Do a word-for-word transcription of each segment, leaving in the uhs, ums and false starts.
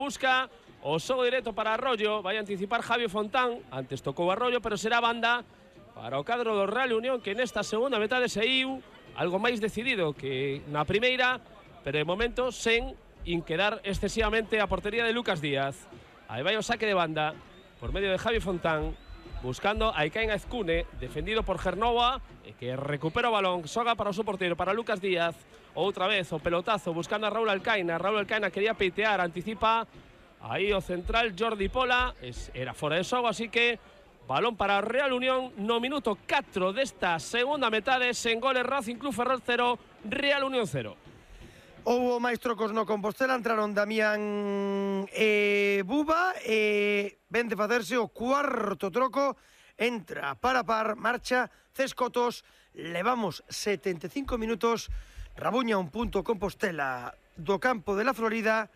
Busca o xogo directo para Arroyo. Vai anticipar Javi Fontán. Antes tocou Arroyo, pero será banda para o cadro do Real Unión, que nesta segunda metade seiu algo máis decidido que na primeira, pero de momento sen inquedar excesivamente a portería de Lucas Díaz. Aí vai o saque de banda por medio de Javi Fontán, buscando a Ikain Azcune, defendido por Gernova, que recupera o balón, xoga para o seu porteiro, para Lucas Díaz. Outra vez o pelotazo buscando a Raúl Alcaina. Raúl Alcaina quería peitear, anticipa aí o central Jordi Pola, es, era fora de xogo, así que balón para Real Unión no minuto catro desta segunda metade. Sen goles, Racing Club Ferrol cero, Real Unión cero. Houbo máis trocos no Compostela, entraron Damián e Buba, e ven de facerse o cuarto troco, entra para par, marcha Cescotos, levamos setenta e cinco minutos, rabuña un punto Compostela do campo de la Florida,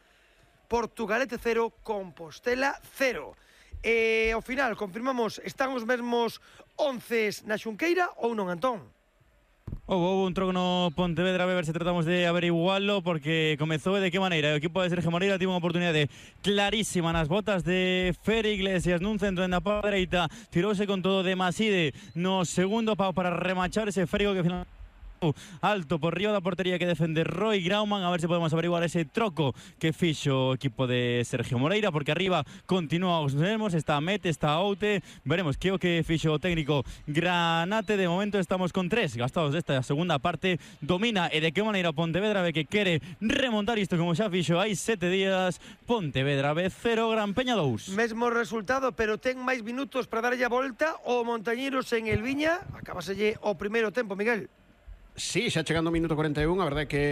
Portugalete cero, Compostela cero. E ao final, confirmamos, están os mesmos once na Xunqueira ou non, Antón? Houve un troco no Pontevedra, a ver se tratamos de averiguarlo, porque comezou de que maneira. O equipo de Sergio Moreira tivo unha oportunidade clarísima nas botas de Fer Iglesias nun centro en a parte dereita, tirouse con todo de Maside no segundo pau para remachar ese Férigo que final alto por riba da portería que defende Roy Grauman. A ver se podemos averiguar ese troco que fixo o equipo de Sergio Moreira, porque arriba continúa os mesmos, está Mete, está Oute. Veremos que o que fixo o técnico Granate. De momento estamos con tres gastados desta segunda parte. Domina e de que maneira Pontevedra ve que quere remontar isto como xa fixo hai sete días. Pontevedra B cero, Gran Peña dous. Mesmo resultado, pero ten máis minutos para darlle a volta o Montañeros en el Viña. Acabaselle o primeiro tempo, Miguel. Sí, xa chegando o minuto cuarenta e un, a verdade é que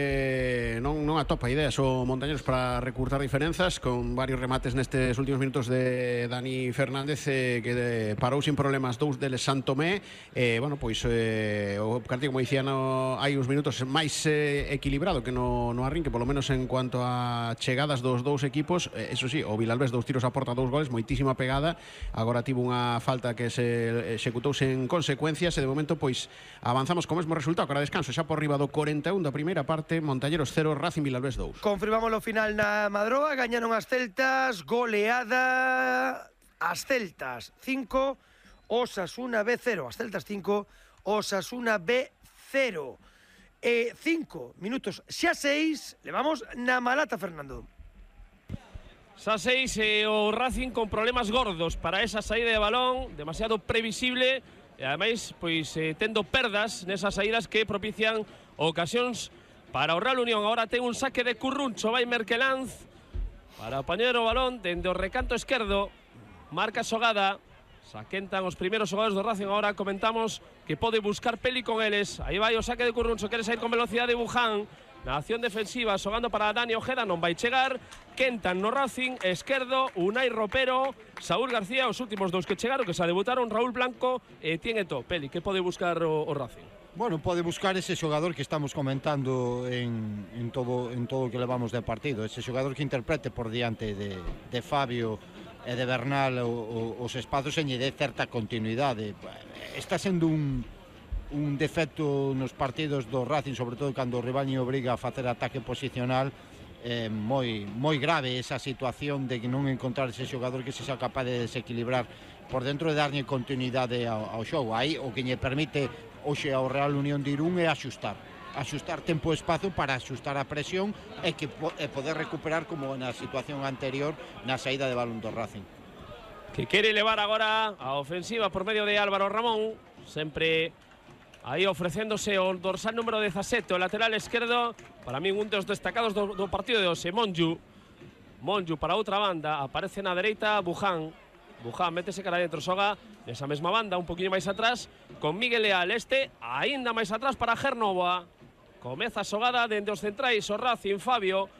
non, non atopa ideas o Montañeros para recurtar diferenzas, con varios remates nestes últimos minutos de Dani Fernández, eh, que de, parou sin problemas dous deles Santomé. Eh, bueno, pois eh, o partido, como dicía, no, hai uns minutos máis eh, equilibrado que no, no arrinque, polo menos en cuanto a chegadas dos dous equipos. Eh, eso sí, o Vilalbés dous tiros a porta, dous goles, moitísima pegada. Agora tivo unha falta que se executouse en consecuencias, e de momento pois avanzamos co mesmo resultado, cara descanso xa por riba do cuarenta e un da primeira parte. Montañeros cero, Racing Vilalbés dous. Confirmamos o final na Madroa, gañaron as Celtas, goleada as Celtas cinco, Osasuna B cero, as Celtas cinco, Osasuna B cero. E cinco minutos xa seis, levamos na Malata, Fernando. Xa seis, e o Racing con problemas gordos para esa saída de balón, demasiado previsible. E ademais, pois, eh, tendo perdas nesas saídas que propician ocasións para o Real Unión. Agora ten un saque de Curruncho, vai Merkelanz para apañar o balón dende o recanto esquerdo, marca xogada, saquentan os primeiros xogadores do Racing. Agora comentamos que pode buscar peli con eles. Aí vai o saque de Curruncho, quere sair con velocidade Buján na acción defensiva, xogando para Dani Ojeda, non vai chegar. Quentan no Racing, esquerdo, Unai Ropero, Saúl García, os últimos dos que chegaron, que se debutaron, Raúl Blanco e tiene to. Peli, que pode buscar o, o Racing? Bueno, pode buscar ese xogador que estamos comentando en, en todo en todo o que levamos de partido, ese xogador que interprete por diante de, de Fabio e de Bernal o, o, os espazos e lle dé certa continuidade. Está sendo un un defecto nos partidos do Racing, sobre todo cando o rival lle obriga a facer ataque posicional. Eh, moi, moi grave esa situación de que non encontrar ese xogador que se xa capaz de desequilibrar por dentro e darlle continuidade ao, ao xogo. Aí o que lle permite hoxe ao Real Unión de Irún é axustar axustar tempo e espazo para axustar a presión e, que, e poder recuperar como na situación anterior na saída de balón do Racing, que quere levar agora a ofensiva por medio de Álvaro Ramón, sempre aí ofrecéndose o dorsal número dezasete, o lateral esquerdo, para mí un dos destacados do, do partido de hoxe, Monju. Monju para outra banda, aparece na dereita Buján. Buján métese cara dentro, xoga nesa mesma banda, un poquinho máis atrás, con Miguel Leal, este aínda máis atrás para Gernova. Comeza a xogada dende os centrais, o Racing, Fabio,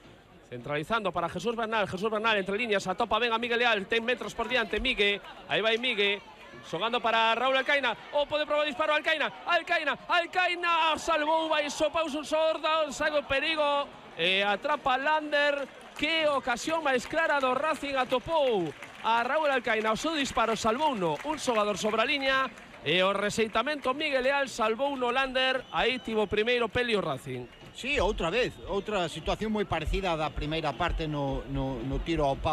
centralizando para Jesús Bernal. Jesús Bernal entre líneas, atopa ben a Miguel Leal, ten metros por diante, Migue, aí vai Migue. Xogando para Raúl Alcaina, o pode probar disparo Alcaina, Alcaina, Alcaina, salvou, vai sopaus un sorda, sago perigo, e atrapa Lander. Que ocasión máis clara do Racing, atopou a Raúl Alcaina, o seu disparo salvou no un xogador sobre a liña, e o rexeitamento Miguel Leal salvou no Lander. Aí tivo primeiro peli o Racing. Sí, outra vez, outra situación moi parecida á da primeira parte no, no, no tiro ao pau